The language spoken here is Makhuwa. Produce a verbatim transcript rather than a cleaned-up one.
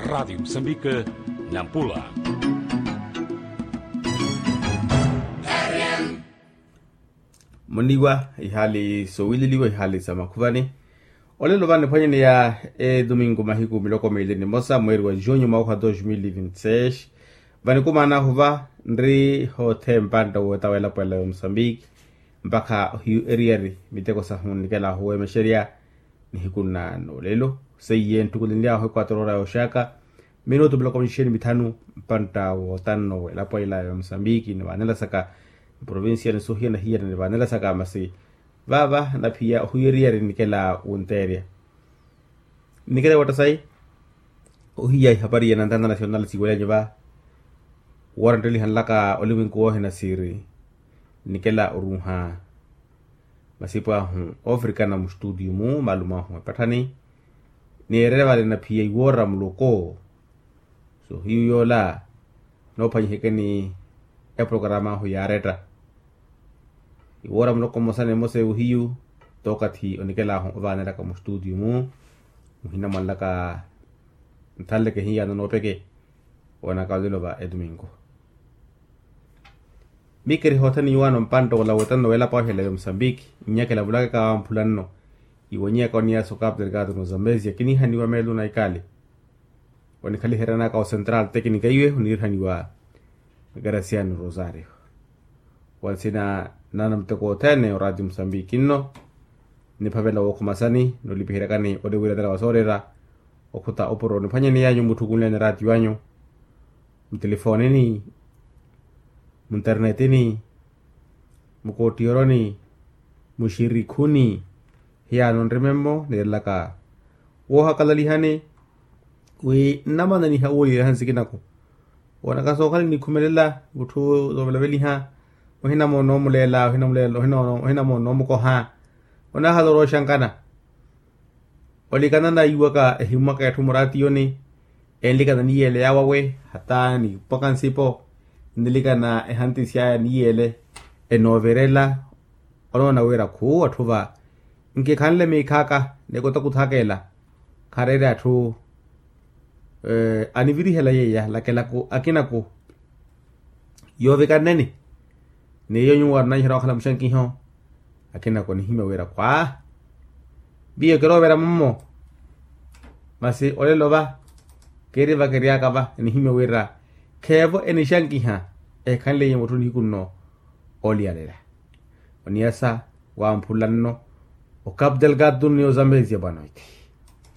Radiyo musambika, nampula. Muniwa ihaali sowililiwa ihaali sa makhuvani. Olelo vaniphwanyeneya edomingo mahiku miloko meeli ni mosa mweeri wa junho mwaka wa dos mil e vinte seis. Vanikumaanahu va nri hothempa ntta wootta welapo ela ya musambiki mpakha ohiyu eriyari miteko sahu nnikela ahuweemexerya. Nihiku nnaano lelo seiye nttukulenly'ahu ekwatorora yooxaka minutu miloko mixixeni mithanu mpantta wootanno welapo ela ya musambiki nivaanela saka mprovincia ni sohiya na hiyana nivaanela saka masi vaava naphiya ohuweriyari nnikela wunteerya. Nnikela wootta sayi ohiya ihapari ya nantanta nacional siiwelanyu va woora nttelihanlaka olimwenku woohina siiri nnikela oruuha masipu ahu oofrikana mustutiyu-mu malumo ahu epatthani. Niirerevale naphiya iwoora muloko sohiyu yoola noophwanyihekeni eprokarama ahu yaaretta iwoora muloko mmosa ni mmosa ewohiyu tookathi onikela ahu ovaanelaka mustutiyu-mu muhina mwanlaka nthanleke hiyano noopeke. Woonaka olelo va etuminko mikeri hothene iwaano mpantta ola wootanno welapo ahu ela ya musambiki nnyakela vulakaka wamphula nno iwonyeyaka oniyasa okapu delgado no zambezia kinihaniwa meelo na ikali. Onikhaliheryanaka ocentral tecnica iwe onirihaniwa graciano rosario. Wa nsina naana muteko othene oraati musambiki nno nniphavela wookhumasani nolipiheryakani oliwiranela wa soorera okhuta opuro niphwanyeneyanyu mutthukunleni raati wanyu mutelifoonini munternetini mukottiyoroni muxirikhuni. Hiyaano nrime-mmo niirelaka woohakalalihani wi nnamananiha wuuliyeriha nsikinaku woonaka sookhala nikhumelela mutthu zoovelaveliha ohinamoona omuleela ohinamoona omukoha onaahala orooxankana. Olikanana iwaka ehimmwaka etthu muraatiyoni enlikana niyeele yaawawe hata nipwaka nsipo nnilikana ehantisi aya niyeele enoovirela. Onoona wira khuuwa atthu va nkikhanle miikhaaka ni kutakuthakeela khareere atthu anivirihela yeeya lakelaku akinaku yoovikanneni. Ni iyo nyuwo arinanyiherya wakhala muxankiho akinaku nihimya wira khwa miyo kiroovera mummo. Masi olelo va kiiri vakiryaka va nihimya wira kheevo enixankiha ehikhanleiye mutthu nihiku nno oliyalela oniyasa wamphula nno okapu delgado ni ozambezia bwanoiti.